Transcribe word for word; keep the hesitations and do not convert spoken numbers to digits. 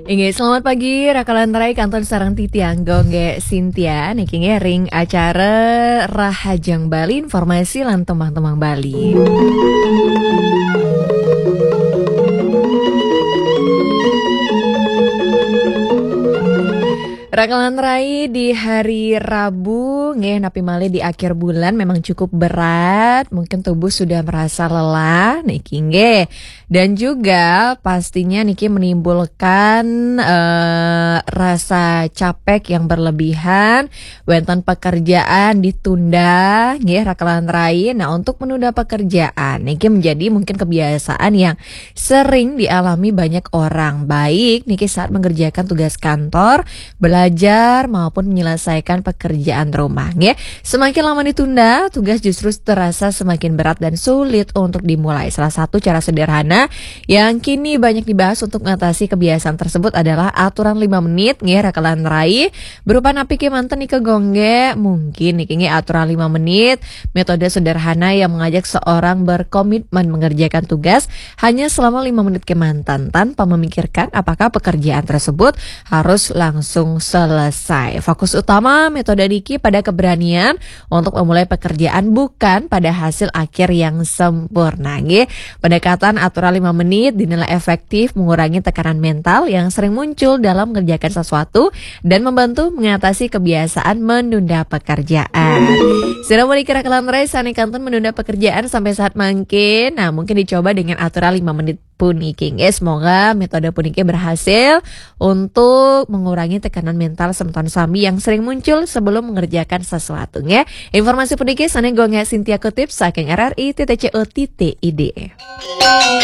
Inggih, selamat pagi, Raka lan Rai, kantun sareng titiang Gonggé Sintia, niki nggih ring acara Rahajeng Bali, informasi lan tembang-tembang Bali. Raka lan Rai, di hari Rabu, nggih, napi malih di akhir bulan memang cukup berat, mungkin tubuh sudah merasa lelah, niki nggih. Dan juga pastinya niki menimbulkan, eh, rasa capek yang berlebihan, wénten pekerjaan ditunda, nggih, Raka lan Rai. Nah, untuk menunda pekerjaan, niki menjadi mungkin kebiasaan yang sering dialami banyak orang, baik niki saat mengerjakan tugas kantor, belajar, maupun menyelesaikan pekerjaan rumah, nggih. Semakin lama ditunda, tugas justru terasa semakin berat dan sulit untuk dimulai. Salah satu cara sederhana yang kini banyak dibahas untuk mengatasi kebiasaan tersebut adalah aturan lima menit, nggih, Raka lan Rai. Berupa napi kémanten nika Gonggé? Mungkin niki nggih aturan lima menit, metode sederhana yang mengajak seorang berkomitmen mengerjakan tugas hanya selama lima menit kémanten tanpa memikirkan apakah pekerjaan tersebut harus langsung selesai. Fokus utama metode niki pada keberanian untuk memulai pekerjaan, bukan pada hasil akhir yang sempurna, nggih. Pendekatan aturan lima menit dinilai efektif mengurangi tekanan mental yang sering muncul dalam mengerjakan sesuatu dan membantu mengatasi kebiasaan menunda pekerjaan. Sira menika Raka lan Rai sané kantun menunda pekerjaan sampai saat mangkin. Nah, mungkin dicoba dengan aturan lima menit puniki, nggih. Semoga metode puniki berhasil untuk mengurangi tekanan mental semeton sami yang sering muncul sebelum mengerjakan sesuatu, nggih. Informasi puniki sané Gonggé Sintia kutip saking R R I titik C O titik I D.